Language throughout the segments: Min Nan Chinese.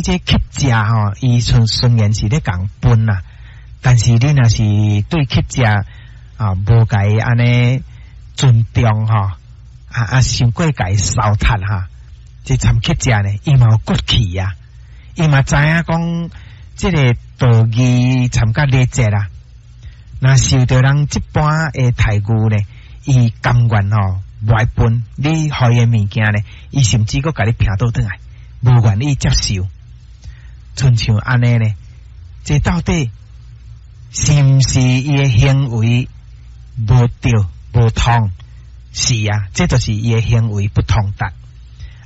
你這乞食吼，伊雖然是咧共分啦，但是你若是對乞食啊，無共伊按呢尊重吼，傷過共伊糟蹋哈，這參乞食呢，伊嘛有骨氣啊，伊嘛知影講這个道義參佮禮節啦。若受著人這般的待遇呢，伊甘願吼，無愛分，你予伊的物件呢，伊甚至閣共你拚倒轉來，無願意接受。親像按呢呢，這到底是毋是伊的行為無對無通？是啊，這就是伊的行為不通達，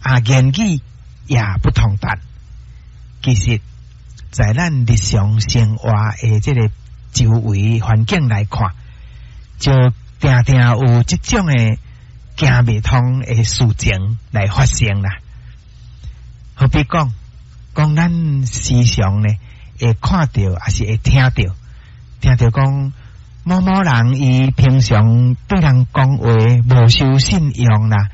啊，言語也不通達。其實，在咱日常生活的這个周圍環境來看，就定定有這種的行袂通的事情來發生啦。好比講，講咱時常呢會看著，抑是會聽著，聽著講某某人伊平常對人講話無守信用啦，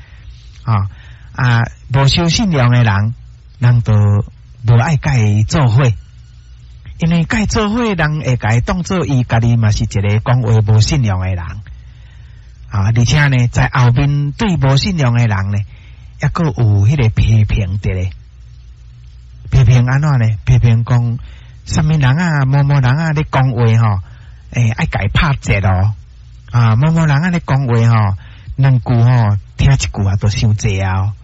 無守信用的人，人就無愛佮伊做伙。因為佮伊做伙，人會共伊當做伊家己嘛是一个講話無信用的人啊！而且呢，在後面對無信用的人呢，抑閣有彼个批評佇咧，批評按怎呢？批評講啥物人啊，某某人啊，咧講話吼，愛共伊拍折哦！啊，某某人啊，咧講話吼，兩句吼，聽一句啊，都傷濟啊！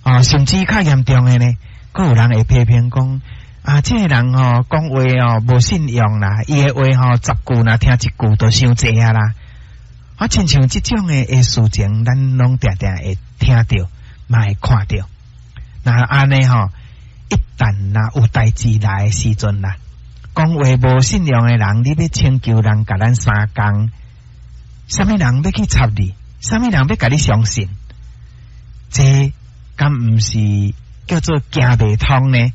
啊，甚至較嚴重的呢，閣有人會批評講。啊，這个人吼講話哦無信用啦，伊的話吼十句若聽一句就傷濟啊啦。啊，親像這種的事情，咱攏定定會聽著，嘛會看著。若按呢吼，一旦若有代誌來的時陣啦，講話無信用的人，你欲請求人共咱相共，啥物人欲去插你？啥物人欲共你相信？這敢毋是叫做行袂通呢？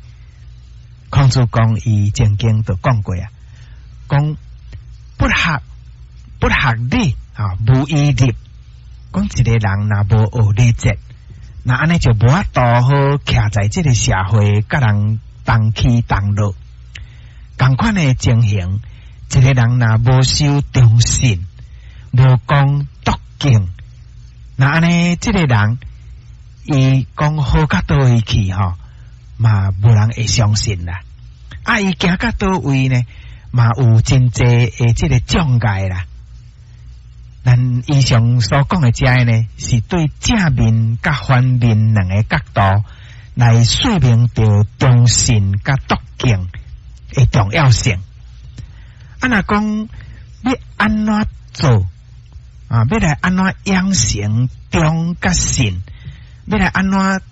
孔子公伊曾經就講過啊，講不學不學禮啊，無以立。講一个人若無學禮節，那按呢就無法度好徛在這个社會，佮人同起同落。仝款的情形，一个人若無守忠信，無講篤敬，那按呢這个人，伊講好到佗位去吼，嘛無人會相信啦。啊，伊行到佗位呢，嘛有真濟的這个障礙啦。咱以上所講的這个呢，是對正面佮反面兩个角度來說明著忠信佮篤敬的重要性。啊，若講欲按怎做啊？欲來按怎養成忠佮信？欲來按怎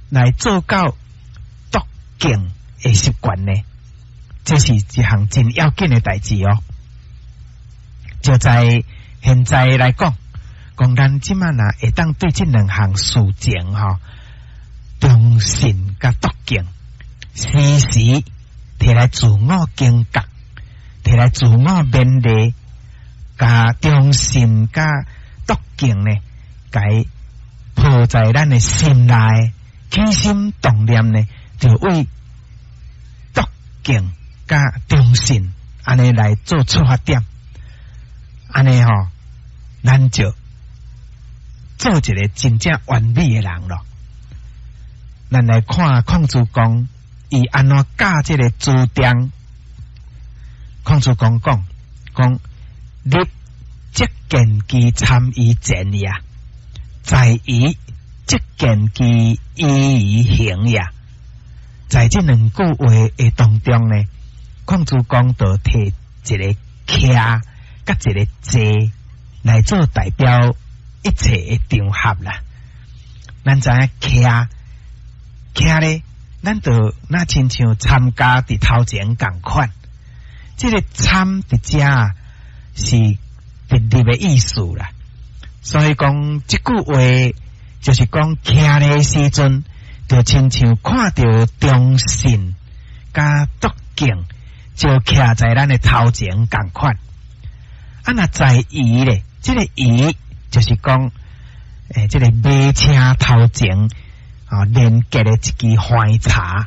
來做到篤敬的習慣呢？這是一項真要緊的代誌哦。就在現在來講，講咱這馬若會當對這兩項事情吼，忠信佮篤敬，時時提來自我警覺，提來自我勉勵，共忠信佮篤敬呢，共伊抱在咱的心內，起心動念呢，就為篤敬佮忠信，按呢來做出發點，按呢吼，咱就做一个真正完美的人囉。咱來看孔子公，伊按怎教這个子張？孔子公講講，立則見其參於前也，在夷則見其依於行也。在這兩句話的當中呢，孔子公就提一个徛佮一个坐來做代表一切的場合啦。咱知影徛徛咧，咱就若親像參加佇頭前仝款。這个參佇遮是直立的意思啦。所以講這句話就是講徛咧時陣，就親像看著忠信佮篤敬，就徛在咱的頭前仝款。啊，若在夷咧，這个夷就是講，這个馬車頭前啊，連結的一支橫柴。